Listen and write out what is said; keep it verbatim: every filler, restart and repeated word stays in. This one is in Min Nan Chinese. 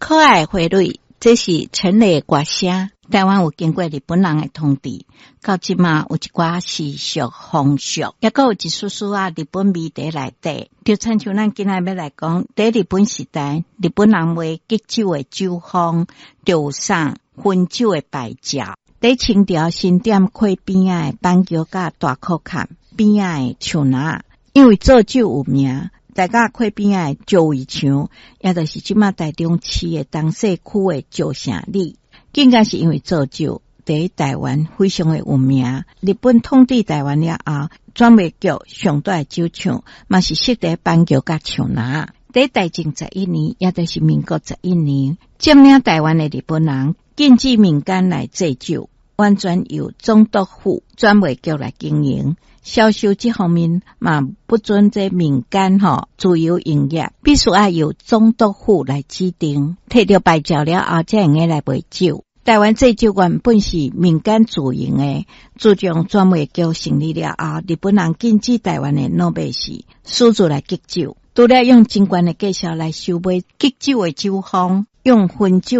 可愛花蕊，這是陳雷的歌聲。台灣有經過日本人的統治，到這馬有一寡習俗風俗，抑閣有一絲絲仔日本味佇內底。就親像咱今仔欲來講，佇日本時代，日本人賣基酒的酒坊，就有送薰酒的牌照。佇清朝新店溪邊仔的板橋佮大箍崁邊仔的樹林，因為做酒有名。大甲溪邊仔的石圍牆，也就是這馬台中市的東勢區的石城里，更加是因為做酒，佇台灣非常的有名。日本統治台灣了後，專賣局上大的酒廠，嘛是設佇板橋佮樹林。佇大正十一年，也就是民國十一年，佔領台灣的日本人禁止民間來製酒，完全由總督府專賣局來經營。銷售這方面嘛，不准這民間吼自由營業，必須愛由總督府來指定。提著牌照了後，才會用來賣酒。台灣製酒原本是民間自營的，自從專賣局成立了後，日本人禁止台灣的老百姓私自來基酒，除了用真懸的價數來收買基酒的酒坊，用薰酒。